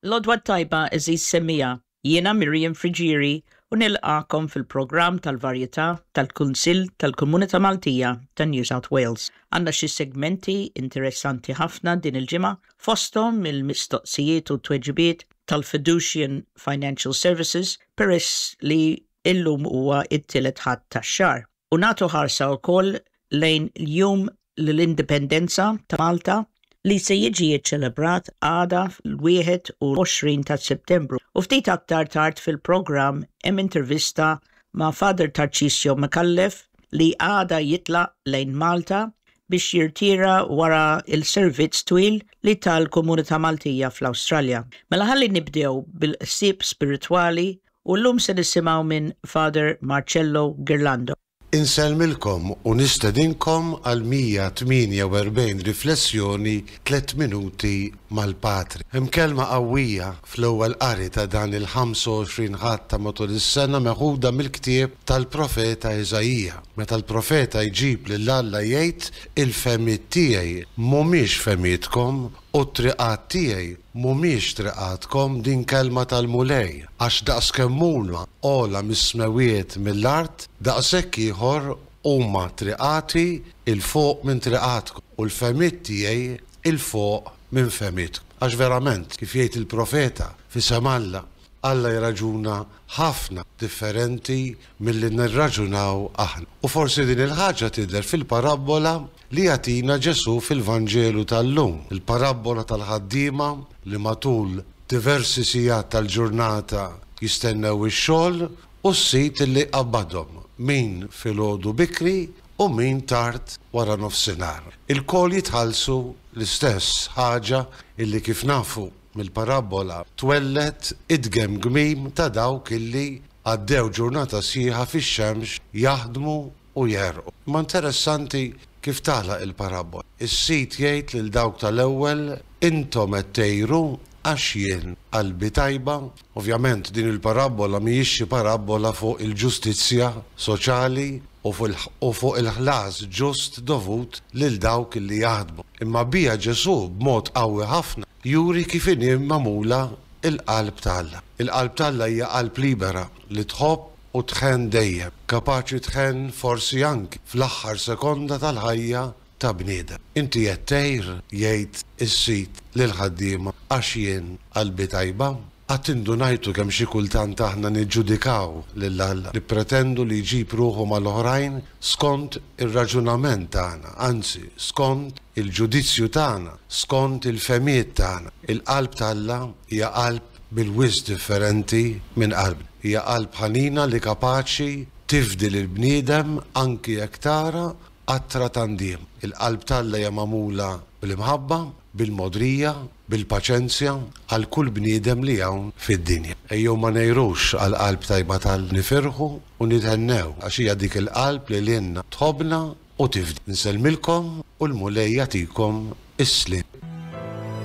L-għodwa t-tajba għeżież semmiegħa, jiena Miriam Friggieri u nilqagħkom fil-programm tal-varjetà tal-Kunsill tal-Komunità Maltija ta' New South Wales. Għandna xi segmenti interessanti ħafna din il-ġimgħa, fosthom il-mistoqsijiet u t-tweġibiet tal-Fiducian Financial Services peress li illum huwa t-tielet Ħadd tax-xahar. U nagħtu ħarsa wkoll lejn l-Jum l-Indipendenza ta' Malta li se jiġi ċċelebrat għada fl-21 ta' Settembru. U ftit aktar tard fil-programm hemm intervista ma' Father Tarcisio Micallef li għada jitlaq lejn Malta biex jirtira wara l-servizz twil li ta l-komunità Maltija fl-Awstralja. Mela ħalli nibdew bil-ħsieb spiritwali u llum se nisimgħu minn Father Marcello Ghirlando. Insellmilkom u nistedinkom għal 148 riflessjoni Tliet Minuti mal-Patri. Hemm kelma qawwija fl-ewwel qari ta' dan il-25 Ħadd ta' matul is-sena meħuda mill-ktieb tal-profeta Iżaija, meta l-profeta jġib lil Alla jgħid, Il-fehmiet tiegħi mhumiex fehmietkom u t-triqat tiegħi Mhumiex triqatkom, din kelma tal-Mulej, għax daqskemm huma ogħla mis-smewwiet mill-art, daqshekk ieħor huma triqati 'l fuq minn triqatkom, u l-fehmiet tiegħi 'l fuq minn fehmietkom. Għax verament, kif jgħid il-profeta, f'isem Alla, Alla jirraġuna ħafna differenti milli nirraġunaw aħna. U forsi din il-ħaġa tidher fil-parabbola li jagħtina Ġesù fil-Vanġelu tal-lum, il-parabbola tal-ħaddiema li matul diversi sigħat tal-ġurnata jistennew ix-xogħol u s-sid li jqabbadhom, min filgħodu bikri u min tard wara nofsinhar. Ilkoll jitħallsu l-istess ħaġa illi kif nafu mill-parabbola twelled it-tgemgmim ta' dawk illi għaddew ġurnata sħiħa fix-xemx jaħdmu u jegħrqu. Imma interessanti kif tagħlaq il-parabbola. Is-sid jgħid lil dawk tal-ewwel, Intom qed tgħiru għax jien qalbi tajba. Ovvjament din il-parabbola mhijiex xi parabbola fuq il-ġustizzja soċali u fuq il-ħlas ġust dovut lil dawk li jaħdmu. Imma biha Ġesù b'mod qawwi ħafna juri kif inhi magħmula l-qalb ta' Alla. Il-qalb ta' Alla hija qalb libera li tħobb u tħenn dejjem, kapaċi tħenn forsi anki fl-aħħar sekonda tal-ħajja ta' bniedem. Inti qed tgħir, jgħid is-sid lill-ħaddiema, għax jien qalbi tajba? Qatt indunajtu kemm xi kultant aħna niġġudikaw lil Alla, nippretendu li jġib ruħu mal-oħrajn skont ir-raġunament tagħna, anzi, skont il-ġudizzju tagħna, skont il-fehmiet tagħna. Il-qalb t'Alla hija qalb bil-wisq differenti minn qalbna. Hija qalb ħanina li kapaċi tifdi lill-bniedem anki jekk tara qatra ta' ndiem. Il-qalb t'Alla hija magħmula bl-imħabba, bil-mogħdrija, bil-paċenzja għal kull bniedem li hawn fid-dinja. Ejjew ma ngħirux għall-qalb tajba t'Alla, nifirħu u nithennew għax hija dik il-qalb li lilna tħobbna u tifdi. Insellmilkom u l-Mulej jagħtikom is-sliem.